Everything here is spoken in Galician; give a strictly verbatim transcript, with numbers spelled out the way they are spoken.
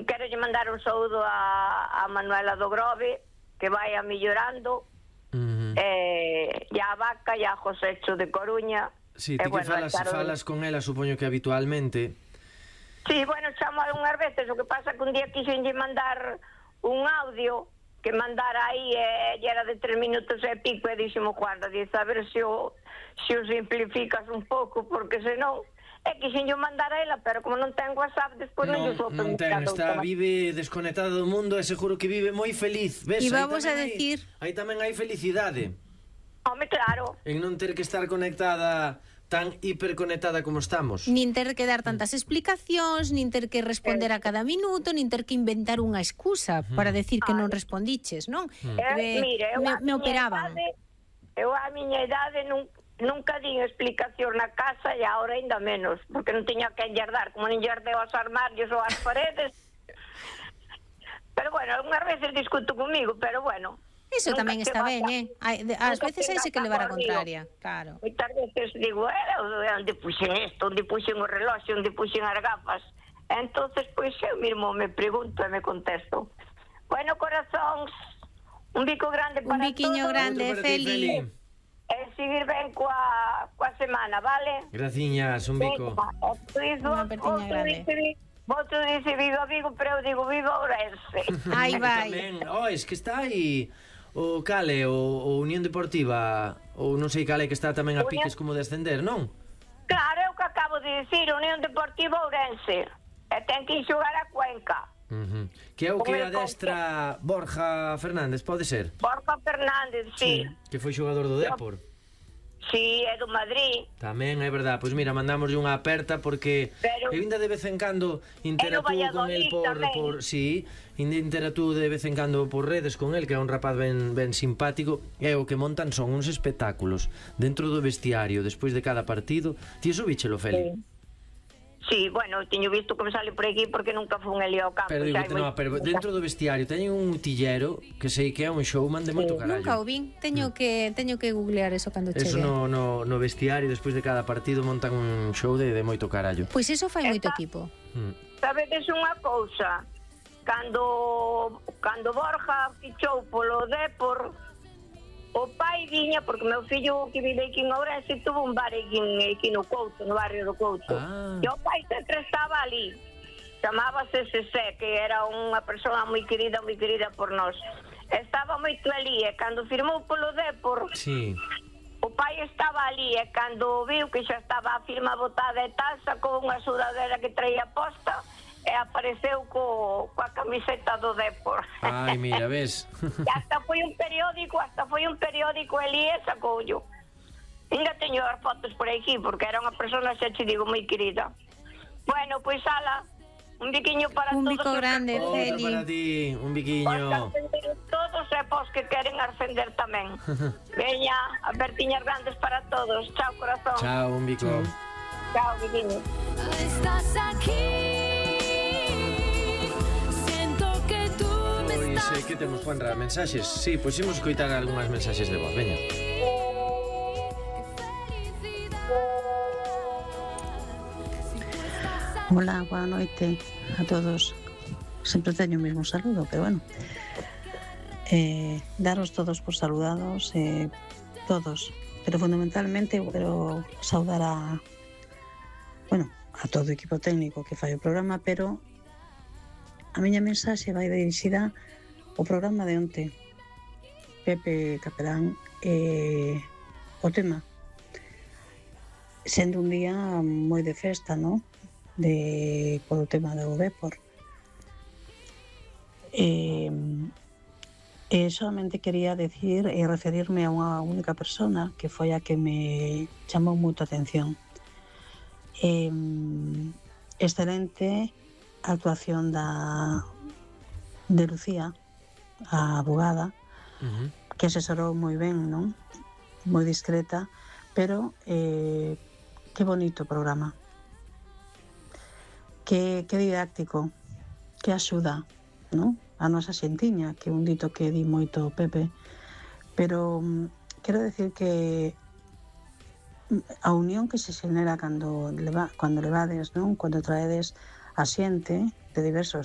quero lle mandar un saúdo a, a Manuela do Grove, que vai a mellorando, uh-huh. eh, e a Vaca e a Josecho de Coruña. Sí, ti que bueno, falas, claro, falas con ela, supoño que habitualmente. Sí, bueno, chamo algunhas veces, o que pasa que un día quixen lle mandar un audio que mandara aí e eh, era de tres minutos e pico e dixemos, guarda, dice, a ver se o, se o simplificas un pouco, porque senón é que xin yo mandar a ela, pero como non ten WhatsApp, despois non, non yo non ten, está, vive desconectada do mundo e seguro que vive moi feliz. Ves, e vamos a decir, aí tamén hai felicidade. Home, claro. En non ter que estar conectada, tan hiperconectada como estamos. Nin ter que dar tantas explicacións, nin ter que responder a cada minuto, nin ter que inventar unha excusa para decir que non respondiches, non? Eh, mire, me, me operaban. Idade, eu a miña idade non nunca din explicación na casa e agora ainda menos, porque non tiña que enllardar, como non enllardeu aos armarios ou as paredes. Pero bueno, algunhas veces discuto comigo, pero bueno. Iso tamén está ben, eh? Ás veces hai que levar a contraria, claro. Moitas veces digo, eh, onde puxen isto, onde puxen o reloxo, onde puxen as gafas. Entonces, pois eu mesmo me pregunto e me contesto. Bueno, corazóns, un bico grande para todos. Un biquiño grande, Feli. E seguir ben coa, coa semana, vale? Graciñas, un bico. Unha pertiña grande. Vosotros dice viva Vigo, pero eu digo viva Ourense. Aí vai. Oh, es que está aí o Cale, o, o Unión Deportiva, ou non sei cale, que está tamén a piques como de ascender, non? Claro, é o que acabo de dicir, Unión Deportiva Ourense. E ten que ir xogar a Cuenca. Uh-huh. Que é o que adestra Borja Fernández, pode ser? Borja Fernández, sí, sí. Que foi xogador do Dépor. Sí, é do Madrid. Tamén, é verdad. Pois mira, mandamos unha aperta porque pero, que vinda de vez en cando interactúo con el por, por sí, interactúo de vez en cando por redes con el, que é un rapaz ben, ben simpático, e o que montan son uns espectáculos dentro do vestiario despois de cada partido. Ti iso víchelo, Feli? Sí. Sí, bueno, teño visto que me sale por aquí porque nunca fun ali ao campo. Pero digo, no, pero dentro do vestiario teñen un utillero que sei que é un showman de moito carallo. Nunca o vin, teño que teño que googlear eso cando chegue. Eso no, no, no vestiario, despois de cada partido montan un show de, de moito carallo. Pois eso fai moito equipo. Sabedes unha cousa? Cando cando Borja fichou polo Dépor, o pai viña, porque meu fillo que vive aquí en Ourense tuvo un bar aquí, aquí no Couto, no barrio do Couto. Ah. E o pai sempre estaba ali. Chamábase Sesé, que era unha persoa moi querida, moi querida por nós. Estaba moito ali, e cando firmou polo Dépor, sí, o pai estaba ali, e cando viu que xa estaba a firma botada e tal, sacou unha sudadera que traía posta, e apareceu co, coa camiseta do Dépor. Ai, mira, ves? E hasta foi un periódico, hasta foi un periódico ali e sacoullo. Ainda teño as fotos por aquí, porque era unha persona, xa te digo, moi querida. Bueno, pois ala, un biquiño para un todos. Un bico grande, Feli. Para ti, un biquiño. Todos e pos que queren ascender tamén. Veña, apertiñas grandes para todos. Chao, corazón. Chao, un bico. Chao, biquiño. Estás aquí. Sei que temos, Juanra, mensaxes. Sí, pois imos coitar algunhas mensaxes de voz, veña. Hola, boa noite a todos. Sempre teño o mesmo saludo, pero bueno, eh, daros todos por saludados, eh, todos, pero fundamentalmente quero saudar a bueno, a todo o equipo técnico que fai o programa, pero a miña mensaxe vai dirixida o programa de onte, Pepe Capelán, eh, o tema sendo un día moi de festa, ¿no? De, por o tema do Dépor. Eh, eh, solamente quería decir e referirme a unha única persona que foi a que me chamou moito a atención. Eh, excelente a actuación da de Lucía, a abogada, uh-huh, que asesorou moi ben, non? Moi discreta, pero eh, que bonito programa, que, que didáctico, que axuda, non? A nosa xentiña, que un dito que di moito Pepe, pero um, quero decir que a unión que se xenera cando, leva, cando levades, non? Cando traedes a xente de diversos